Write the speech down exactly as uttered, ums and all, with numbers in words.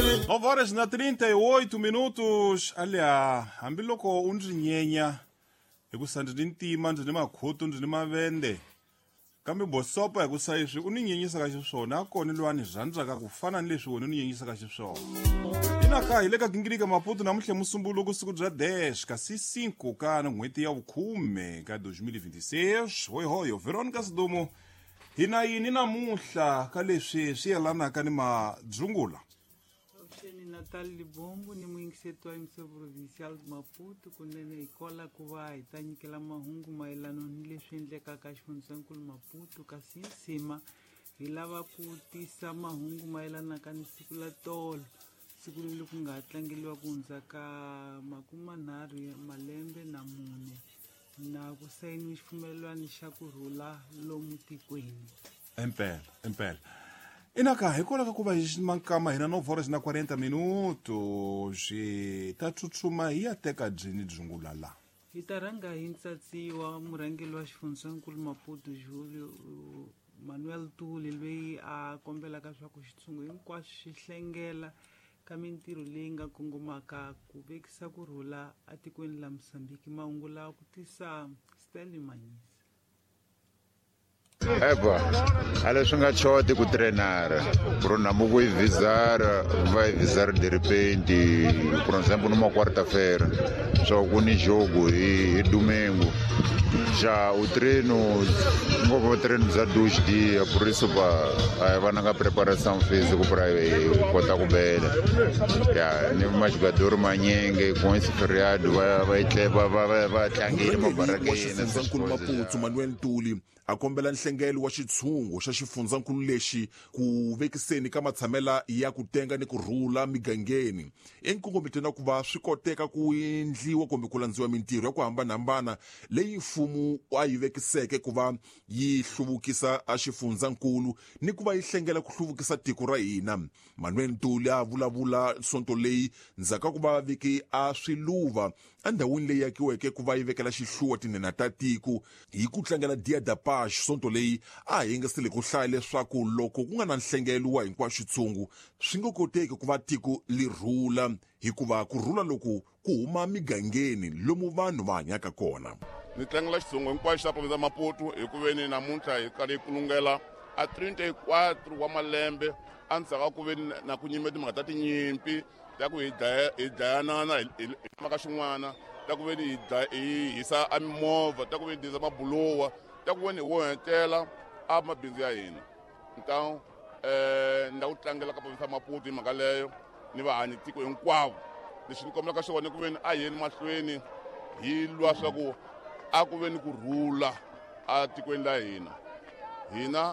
nove horas na trinta e oito minutos. Aliya, hambiloko u ndzi nyenya hikusa ndzi ni ntima, ndzi ni makhutu, ndzi ni mavende, kambe bosopa hikusa leswi u ni nyenyisaka xiswona a kona loyi a ni rhandzaka ku fana ni leswi wena u ni nyenyisaka xiswona. Inaka hi le ka gingirika Maputo namuntlha musumbuluko, siku bya dez kasi cinco ka n'hweti ya vukhume ka dois mil e vinte e seis. Hoyihoyo Veronica Sidumo, hi na yini namuntlha ka leswi swi yelanaka ni madzungula? Avuxeni Natal Libombo ni muyingiseti wa M C Provincial de Maputo. Kunene hi kola ku va hi ta nyikela mahungu mayelana ni leswi endlekaka xifundzankulu Maputo, kasi nsima hi lava ku tisa mahungu mayelanaka ni siku la tolo, siku leri ku nga tlangeliwa ku hundza ka makumanharhu ya malembe na mune na ku sayiniwa xipfumelelwano xa ku rhula lomu tikweni. Impela, impela. Inaka hikwalaho ka ku va hi mankama hina nove horas na quarenta minutos, hi ta tsutsuma hi ya teka byini dzungula la. Hi ta rhanga hi ntsatsiwa murhangeri wa xifundzankulu Maputo Julio Manuel Tuli, loyi a kombelaka swa ku xitshungu hinkwaswo xi hlengela ka mintirho leyi nga kongomaka ku vekisa ku rhula atikweni la Mosambiki. Mahungu lawa ku tisa Stanley Manyisa. Eba, a leswi nga choti ku trenara por namo vou visar, vai visar de repente, por exemplo, numa quarta-feira, só ku ni jogo hi, hi domingo. Já o treino, ngopfu treino bya dois dias, por isso pa a va na nga preparação física para kota ku bela. Ya, ni majogador manyenge com esse feriado va va va va va va tlangile Murhangeri wa mabarakeni. xifundzankulu Maputo Manuel Ntuli a kombela nhlengelo wa xitshungu xa xifundzankulu lexi ku vekiseni ka matshamela ya ku tenga ni ku rhula migangeni, enkongometweni wa ku va swi koteka ku endliwa kumbe ku landziwa mintirho ya ku hambanahambana leyi mfumo a yi vekiseke ku va yi hluvukisa a xifundzankulu ni ku va yi hlengela ku hluvukisa tiko ra hina. Manuel Ntuli a vulavula sonto leyi ndzhaku ka ku va veki a swiluva endhawini leyi akiweke ku va yi vekela xihluwa tinhenha ta tiko hi ku tlangela Dia da Paz. Sonto leyi a hi yingisile ku hlaya leswaku loko ku nga na nhlengelo wa hinkwaxo xitshungu, swi nga koteki ku va tiko li rhula, hikuva ku rhula loku ku huma migangeni lomu vanhu va hanyaka kona. Ni tlangela xitshungu hinkwaxo xa province ya Maputo hi ku veni namuntlha hi karhi hi kulungela a trinta e quatro wa malembe endzhaku ka ku veni na ku nyime timhaka ta tinyimpi ta ku hi dlaya hi dlayanana hi hi mhaka xin'wana, ta ku veni hi dlaya hi hisa a mimovha, ta ku veni hi hisa mabulowa, ta ku veni hi onhetela a mabindzu ya hina. Então eh ni la ku tlangela ka province ya Maputo hi mhaka leyo ni vahanyi tiko hinkwavo. Lexi ni kombelaka xona ku veni a yeni mahlweni hi lwa swa ku a ku ve ni ku rhula a tikweni la hina hina.